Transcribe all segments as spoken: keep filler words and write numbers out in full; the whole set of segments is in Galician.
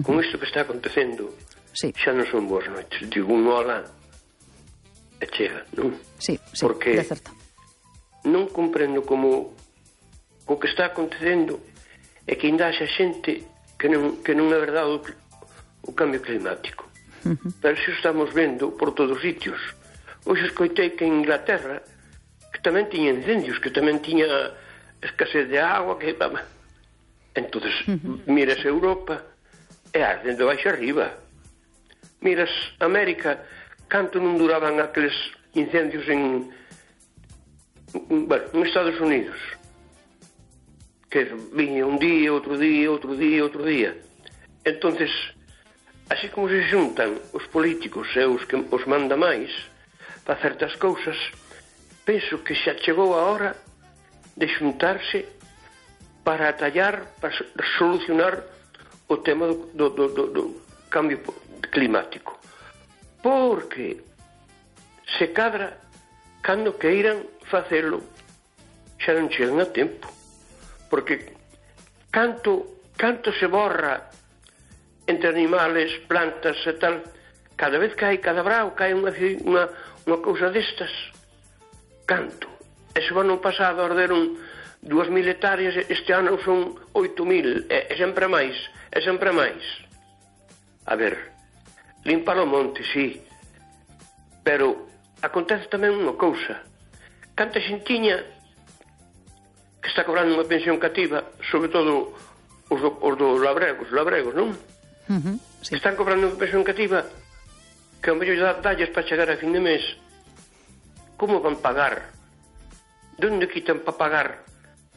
con isto que está acontecendo, xa non son boas noites. Digo un hola e chega, non? Sí, sí, porque de certo. Non comprendo como o que está acontecendo é que ainda haxa xente que non, que non é verdade o, o cambio climático. Uh-huh. Pero se estamos vendo por todos os sitios. Hoxe escoitei que en Inglaterra que tamén tiña incendios, que tamén tiña escasez de agua, que... Entonces, uh-huh. miras Europa e arden de baixo arriba. Miras América, canto non duraban aqueles incendios en... bueno, en Estados Unidos, que viña un día, outro día, outro día, outro día. Entonces, así como se xuntan os políticos e os que os manda máis para certas cousas, penso que xa chegou a hora de xuntarse para atallar, para solucionar o tema do, do, do, do, do cambio climático. Porque se cadra, cando queiran facelo, xa non chegan a tempo. Porque canto, canto se borra entre animales, plantas e tal, cada vez que hai cada brao, cae unha, unha, unha cousa destas. Canto. Ese ano pasado arderon dúas mil hectáreas, este ano son oito mil, e, e sempre máis, e sempre máis. A ver, limpar o monte, sí, pero acontece tamén unha cousa. Canta xentiña que está cobrando unha pensión cativa, sobre todo os do, os do labregos, labregos, non? Uh-huh, sí. Están cobrando unha pensión cativa que ao mellor dalles para chegar a fin de mes. Como van pagar? De onde quitan para pagar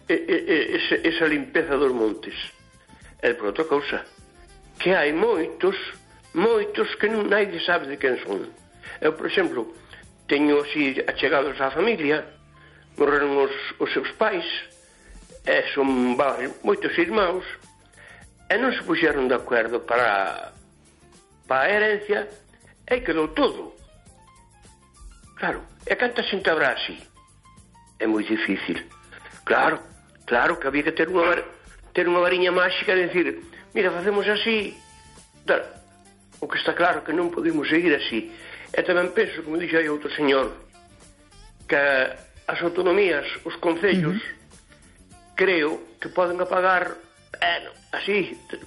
e, e, e, ese, esa limpeza dos montes? E por outra cousa, que hai moitos, moitos que non naide sabe de quen son. Eu, por exemplo, teño así achegados á familia, morreron os, os seus pais, e son varios, moitos irmãos, e non se puxeron de acordo para, para a herencia, e quedou todo. Claro, e canta xente habrá así? É moi difícil. Claro, claro que había que ter unha, ter unha variña máxica de decir, mira, facemos así, tal. O que está claro que non podemos seguir así. E tamén penso, como dixo aí outro señor, que as autonomías, os concellos, uh-huh. creo que poden apagar eh, así, de,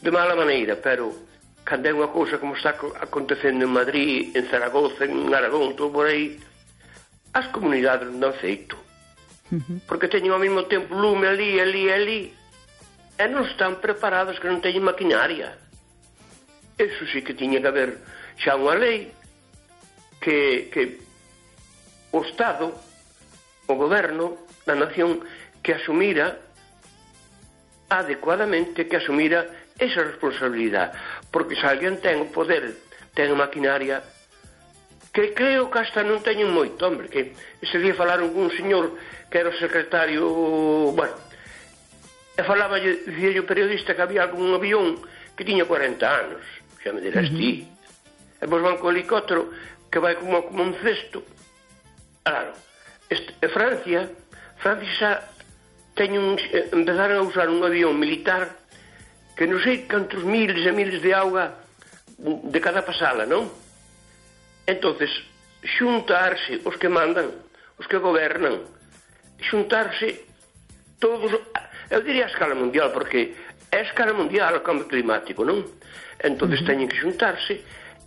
de mala maneira, pero cando é unha cousa como está acontecendo en Madrid, en Zaragoza, en Aragón, todo por aí, as comunidades non dan feito. Uh-huh. Porque teñen ao mesmo tempo lume ali, ali, ali, e non están preparados, que non teñen maquinaria. Eso sí que tiña que haber xa unha lei que, que o Estado, o goberno da nación, que asumira adecuadamente, que asumira esa responsabilidade. Porque se alguén ten o poder, ten a maquinaria, que creo que hasta non teñen moito, hombre, que ese día falaron con un señor que era o secretario, bueno, e falaba, dicía o periodista que había algún avión que tiña cuarenta anos, xa me dirás uh-huh. ti, e vos van co helicóptero que vai como, como un cesto. Claro, este, e Francia, Francia xa teñen un, empezaron a usar un avión militar que non sei cantos miles e miles de auga de cada pasala, non? Entonces, xuntarse os que mandan, os que gobernan, xuntarse todos, eu diría a escala mundial, porque é a escala mundial o cambio climático, non? Entonces uh-huh. teñen que xuntarse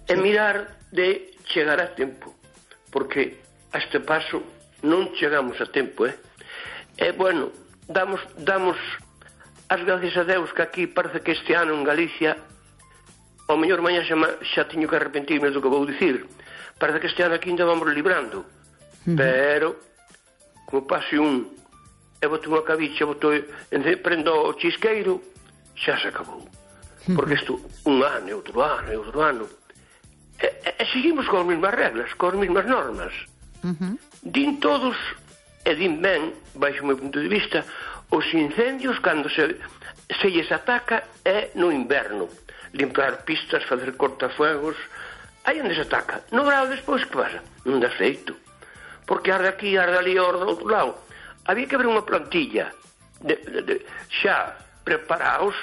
e mirar de chegar a tempo, porque a este paso non chegamos a tempo, eh? E, bueno, damos, damos as gracias a Deus que aquí parece que este ano en Galicia, ao mellor mañá xa, xa teño que arrepentirme do que vou dicir, parece que este ano aquí ainda vamos librando, uh-huh. pero como pase un e botou unha cabicha, botou, prendo o chisqueiro, xa se acabou, uh-huh. porque isto un ano, e outro ano, e outro ano, e, e, e seguimos con as mesmas reglas, con as mesmas normas. Uh-huh. Din todos, e din ben, baixo o meu punto de vista, os incendios cando se, se lles ataca é no inverno, limpar pistas, facer cortafuegos, aí onde se ataca. No verão despois que pasa? Non dá feito, porque arde aquí, arde ali, arde do outro lado. Había que haber unha plantilla de, de, de, xa preparaos